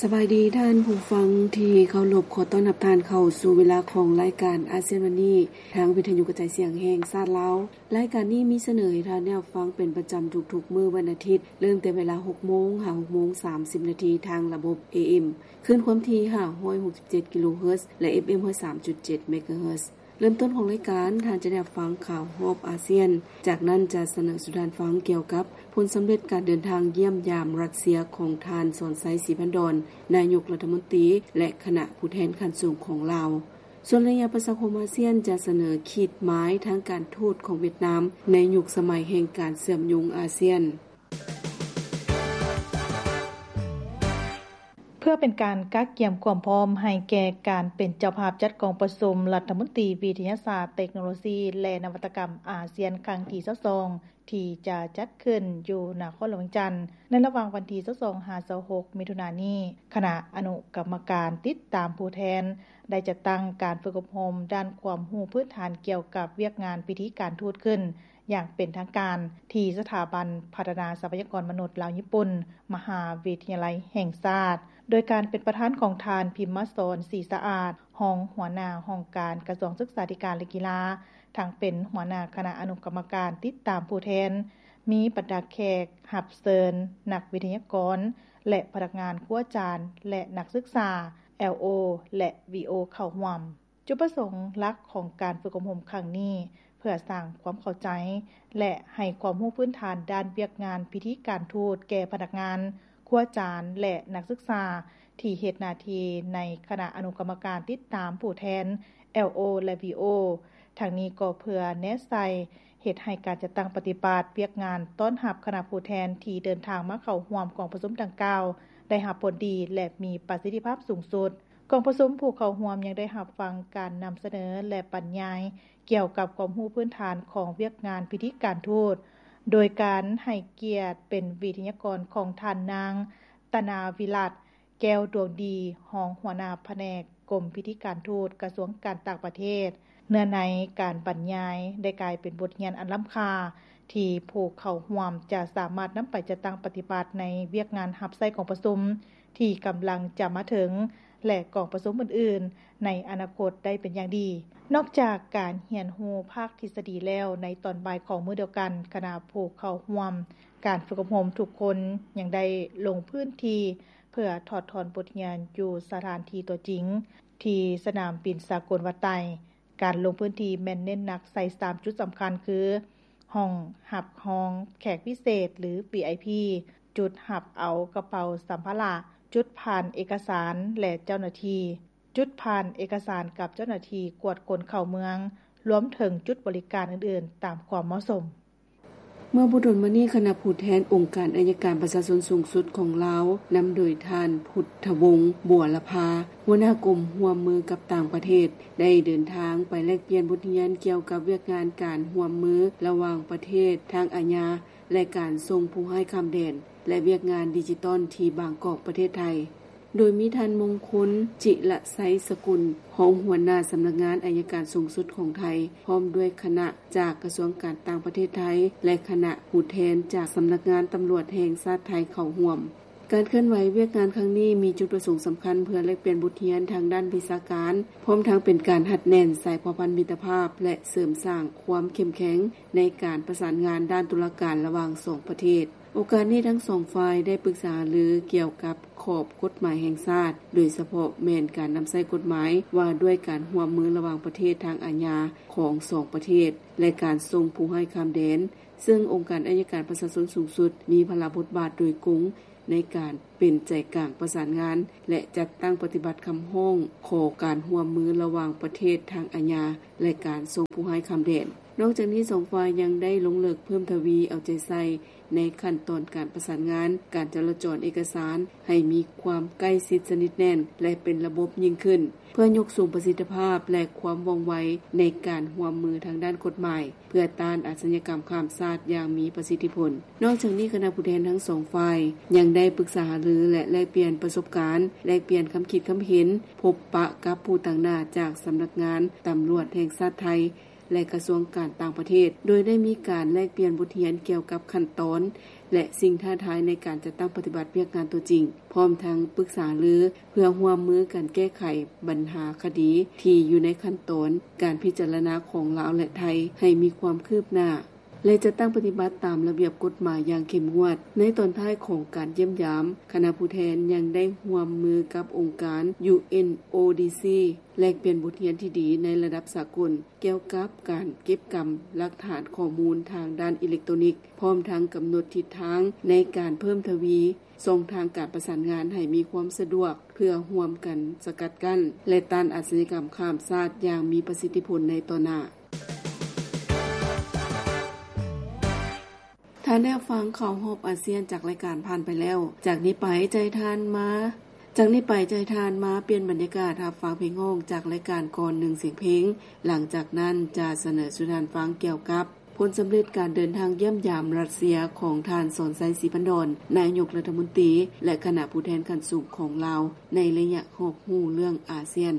ສະບາຍດີທ່ານຜູ້ຟັງທີ່ເຄົາລົບ, ຂໍຕ້ອນຮັບທ່ານເຂົ້າສູ່ເວລາຂອງລາຍການອາຊຽນວັນນີ້ ທາງວິທະຍຸກະຈາຍສຽງແຫ່ງຊາດລາວ. ລາຍການນີ້ມີສະເໜີໃຫ້ທ່ານໄດ້ຮັບຟັງເປັນປະຈຳທຸກໆມື້ວັນອາທິດ, ເລີ່ມແຕ່ເວລາຫົກໂມງຫາຫົກໂມງສາມສິບນາທີ ທາງລະບົບ ເອເອັມ ຄື້ນຄວາມຖີ່ຫ້າຮ້ອຍຫົກສິບເຈັດກິໂລເຮີດ ແລະ ເອັຟເອັມຮ້ອຍສາມຈຸດເຈັດເມກາເຮີດ. ເລີ່ມຕົ້ນຂອງລາຍການ, ທ່ານຈະໄດ້ຮັບຟັງຂ່າວຮອບອາຊຽນ. ຈາກນັ້ນຈະສະເໜີສູ່ທ່ານຟັງກ່ຽວກັບຜົນສຳເລັດການເດີນທາງຢ້ຽມຢາມຣັດເຊຍຂອງທ່ານ ສອນໄຊ ສີພັນດອນ ນາຍົກລັດຖະມົນຕີ ແລະ ຄະນະຜູ້ແທນຂັ້ນສູງຂອງລາວ. ສ່ວນໄລຍະປະຊາຄົມອາຊຽນຈະສະເໜີຂີດໝາຍທາງການທູດຂອງຫວຽດນາມໃນຍຸກສະໄໝແຫ່ງການເຊື່ອມໂຍງອາຊຽນ. ເພື່ອເປັນການກະກຽມຄວາມພ້ອມໃຫ້ແກ່ການເປັນເຈົ້າພາບຈັດກອງປະຊຸມລັດຖະມົນຕີວິທະຍາສາດ, ເຕັກໂນໂລຊີ ແລະ ນະວັດຕະກຳອາຊຽນຄັ້ງທີຊາວສອງ ທີ່ຈະຈັດຂຶ້ນຢູ່ນະຄອນຫຼວງວຽງຈັນ ໃນລະຫວ່າງວັນທີຊາວສອງຫາຊາວຫົກມິຖຸນານີ້, ຄະນະອະນຸກຳມະການຕິດຕາມຜູ້ແທນ ໄດ້ຈັດຕັ້ງການຝຶກອົບຮົມດ້ານຄວາມຮູ້ພື້ນຖານກ່ຽວກັບວຽກງານພິທີການທູດຂຶ້ນ ຢ່າງເປັນທາງການ ທີ່ສະຖາບັນພັດທະນາຊັບພະຍາກອນມະນຸດລາວຍີ່ປຸ່ນ ມະຫາວິທະຍາໄລແຫ່ງຊາດ ໂດຍການເປັນປະທານຂອງທ່ານ ພິມມະສອນ ສີສະອາດ ຮອງຫົວໜ້າຫ້ອງການກະຊວງສຶກສາທິການ ແລະ ກິລາ, ທັງເປັນຫົວໜ້າຄະນະອະນຸກຳມະການຕິດຕາມຜູ້ແທນ, ມີບັນດາແຂກຮັບເຊີນ, ນັກວິທະຍາກອນ ແລະ ພະນັກງານຄູອາຈານ ແລະ ນັກສຶກສາ ແອລໂອ ແລະ ວີໂອ ເຂົ້າຮ່ວມ. ຈຸດປະສົງຫຼັກຂອງການຝຶກອົບຮົມຄັ້ງນີ້ ເພື່ອສ້າງຄວາມເຂົ້າໃຈ ແລະ ໃຫ້ຄວາມຮູ້ພື້ນຖານດ້ານວຽກງານພິທີການທູດແກ່ພະນັກງານ, ຄູອາຈານ ແລະ ນັກສຶກສາ ທີ່ເຮັດໜ້າທີ່ໃນຄະນະອະນຸກຳມະການຕິດຕາມຜູ້ແທນ ແອລໂອ ແລະ ວີໂອ. ທັງນີ້ກໍເພື່ອແນໃສ່ເຮັດໃຫ້ການຈັດຕັ້ງປະຕິບັດວຽກງານຕ້ອນຮັບຄະນະຜູ້ແທນທີ່ເດີນທາງມາເຂົ້າຮ່ວມກອງປະຊຸມດັ່ງກ່າວ ໄດ້ຮັບຜົນດີ ແລະ ມີປະສິດທິພາບສູງສຸດ. ກອງປະຊຸມຜູ້ເຂົ້າຮ່ວມຍັງໄດ້ຮັບຟັງການນຳສະເໜີ ແລະ ບັນຍາຍກ່ຽວກັບຄວາມຮູ້ພື້ນຖານຂອງວຽກງານພິທີການທູດ, ໂດຍການໃຫ້ກຽດເປັນວິທະຍາກອນຂອງທ່ານນາງ ຕະນາວິລັດ ແກ້ວດວງດີ ຮອງຫົວໜ້າພະແນກກົມພິທີການທູດ ກະຊວງການຕ່າງປະເທດ. ເນື້ອໃນການບັນຍາຍໄດ້ກາຍເປັນບົດຮຽນອັນລ້ຳຄ່າ ທີ່ຜູ້ເຂົ້າຮ່ວມຈະສາມາດນຳໄປຈັດຕັ້ງປະຕິບັດໃນວຽກງານຮັບໃຊ້ກອງປະຊຸມ ທີ່ກຳລັງຈະມາເຖິງ ແລະ ກອງປະຊຸມອື່ນໆໃນອະນາຄົດໄດ້ເປັນຢ່າງດີ. ນອກຈາກການຮຽນຮູ້ພາກທິດສະດີແລ້ວ, ໃນຕອນບ່າຍຂອງມື້ດຽວກັນ, ຄະນະຜູ້ເຂົ້າຮ່ວມການຝຶກອົບຮົມທຸກຄົນຍັງໄດ້ລົງພື້ນທີ່ເພື່ອຖອດຖອນບົດຮຽນຢູ່ສະຖານທີ່ຕົວຈິງ ທີ່ສະໜາມບິນສາກົນວັດໄຕ. ການລົງພື້ນທີ່ແມ່ນເນັ້ນໜັກໃສ່ສາມຈຸດສຳຄັນຄື ຫ້ອງຮັບຮອງແຂກພິເສດ ຫຼື ວີໄອພີ, ຈຸດຮັບເອົາກະເປົາສຳພາລະ, ຈຸດຜ່ານເອກະສານ ແລະ ເຈົ້າໜ້າທີ່, ຈຸດຜ່ານເອກະສານກັບເຈົ້າໜ້າທີ່ກວດຄົນເຂົ້າເມືອງ, ລວມເຖິງຈຸດບໍລິການອື່ນໆຕາມຄວາມເໝາະສົມ. ເມື່ອບໍ່ດົນມານີ້, ຄະນະຜູ້ແທນອົງການໄອຍະການປະຊາຊົນສູງສຸດຂອງລາວ, ນຳໂດຍທ່ານ ພຸດທະວົງ ບົວລະພາ, ຫົວໜ້າກົມຮ່ວມມືກັບຕ່າງປະເທດ, ໄດ້ເດີນທາງໄປແລກປ່ຽນບົດຮຽນກ່ຽວກັບວຽກງານການຮ່ວມມືລະຫວ່າງປະເທດທາງອາຍາ ແລະ ການສົ່ງຜູ້ຮ້າຍຂ້າມແດນ ແລະ ວຽກງານດິຈິຕອນທີ່ບາງກອກ, ປະເທດໄທ. ໂດຍມີທ່ານ ມົງຄົນ ຈິລະໄຊສະກຸນ, ຮອງຫົວໜ້າສຳນັກງານໄອຍະການສູງສຸດຂອງໄທ, ພ້ອມດ້ວຍຄະນະຈາກກະຊວງການຕ່າງປະເທດໄທ ແລະ ຄະນະຜູ້ແທນຈາກສຳນັກງານຕຳຫຼວດແຫ່ງຊາດໄທເຂົ້າຮ່ວມ. ການເຄື່ອນໄຫວວຽກງານຄັ້ງນີ້ມີຈຸດປະສົງສຳຄັນເພື່ອແລກປ່ຽນບົດຮຽນທາງດ້ານວິຊາການ, ພ້ອມທັງເປັນການຮັດແໜ້ນສາຍພົວພັນມິດຕະພາບ ແລະ ເສີມສ້າງຄວາມເຂັ້ມແຂງໃນການປະສານງານດ້ານຕຸລາການລະຫວ່າງສອງປະເທດ. ໂອກາດນີ້ທັງສອງຝ່າຍໄດ້ປຶກສາຫາລືກ່ຽວກັບຂອບກົດໝາຍແຫ່ງຊາດ, ໂດຍສະເພາະແມ່ນການນຳໃຊ້ກົດໝາຍວ່າດ້ວຍການຮ່ວມມືລະຫວ່າງປະເທດທາງອາຍາຂອງສອງປະເທດ ແລະ ການສົ່ງຜູ້ຮ້າຍຂ້າມແດນ, ເຊິ່ງອົງການໄອຍະການປະຊາຊົນສູງສຸດມີພາລະບົດບາດໂດຍກົງໃນການເປັນໃຈກາງປະສານງານ ແລະ ຈັດຕັ້ງປະຕິບັດຄຳຮ້ອງຂໍການຮ່ວມມືລະຫວ່າງປະເທດທາງອາຍາ ແລະ ການສົ່ງຜູ້ຮ້າຍຂ້າມແດນ. ນອກຈາກນີ້, ສອງຝ່າຍຍັງໄດ້ລົງເລິກເພີ່ມທະວີເອົາໃຈໃສ່ ໃນຂັ້ນຕອນການປະສານງານການຈະລາຈອນເອກະສານໃຫ້ມີຄວາມໃກ້ຊິດສະໜິດແໜ້ນ ແລະ ເປັນລະບົບຍິ່ງຂຶ້ນ, ເພື່ອຍົກສູງປະສິດທິພາບ ແລະ ຄວາມວ່ອງໄວໃນການຮ່ວມມືທາງດ້ານກົດໝາຍ ເພື່ອຕ້ານອາຊະຍາກຳຂ້າມຊາດຢ່າງມີປະສິດທິຜົນ. ນອກຈາກນີ້, ຄະນະຜູ້ແທນທັງສອງຝ່າຍຍັງໄດ້ປຶກສາຫາລື ແລະ ແລກປ່ຽນປະສົບການ, ແລກປ່ຽນຄຳຄິດຄຳເຫັນ, ພົບປະກັບຜູ້ຕາງໜ້າຈາກສຳນັກງານຕຳຫຼວດແຫ່ງຊາດໄທ ແລະ ກະຊວງການຕ່າງປະເທດ, ໂດຍໄດ້ມີການແລກປ່ຽນບົດຮຽນກ່ຽວກັບຂັ້ນຕອນ ແລະ ສິ່ງທ້າທາຍໃນການຈັດຕັ້ງປະຕິບັດວຽກງານຕົວຈິງ, ພ້ອມທັງປຶກສາລືເພື່ອຮ່ວມມືກັນແກ້ໄຂບັນຫາຄະດີທີ່ຢູ່ໃນຂັ້ນຕອນການພິຈາລະນາຂອງລາວ ແລະ ໄທ ໃຫ້ມີຄວາມຄືບໜ້າ ແລະ ຈັດຕັ້ງປະຕິບັດຕາມລະບຽບກົດໝາຍຢ່າງເຂັ້ມງວດ. ໃນຕອນທ້າຍຂອງການຢ້ຽມຢາມ, ຄະນະຜູ້ແທນຍັງໄດ້ຮ່ວມມືກັບອົງການ UNODC ແລກປ່ຽນບົດຮຽນທີ່ດີໃນລະດັບສາກົນ ກ່ຽວກັບການເກັບກຳຫຼັກຖານຂໍ້ມູນທາງດ້ານອີເລັກໂຕນິກ, ພ້ອມທັງກຳນົດທິດທາງໃນການເພີ່ມທະວີຊ່ອງທາງການປະສານງານໃຫ້ມີຄວາມສະດວກ ເພື່ອຮ່ວມກັນສະກັດກັ້ນ ແລະ ຕ້ານອາຊະຍາກຳຂ້າມຊາດຢ່າງມີປະສິດທິຜົນໃນຕໍ່ໜ້າ. ທ່ານໄດ້ຮັບຟັງຂ່າວຮອບອາຊຽນຈາກລາຍການຜ່ານໄປແລ້ວ. ຈາກນີ້ໄປຈະໃຫ້ທ່ານມາ, ຈາກນີ້ໄປຈະໃຫ້ທ່ານມາປ່ຽນບັນຍາກາດຮັບຟັງເພງຮ້ອງຈາກລາຍການກ່ອນໜຶ່ງສຽງເພງ. ຫຼັງຈາກນັ້ນຈະສະເໜີສູ່ທ່ານຟັງກ່ຽວກັບຜົນສຳເລັດການເດີນທາງຢ້ຽມຢາມຣັດເຊຍຂອງທ່ານ ສອນໄຊ ສີພັນດອນ ນາຍົກລັດຖະມົນຕີ ແລະ ຄະນະຜູ້ແທນຂັ້ນສູງຂອງລາວ ໃນໄລຍະຮອບຮູ້ເລື່ອງອາຊຽນ.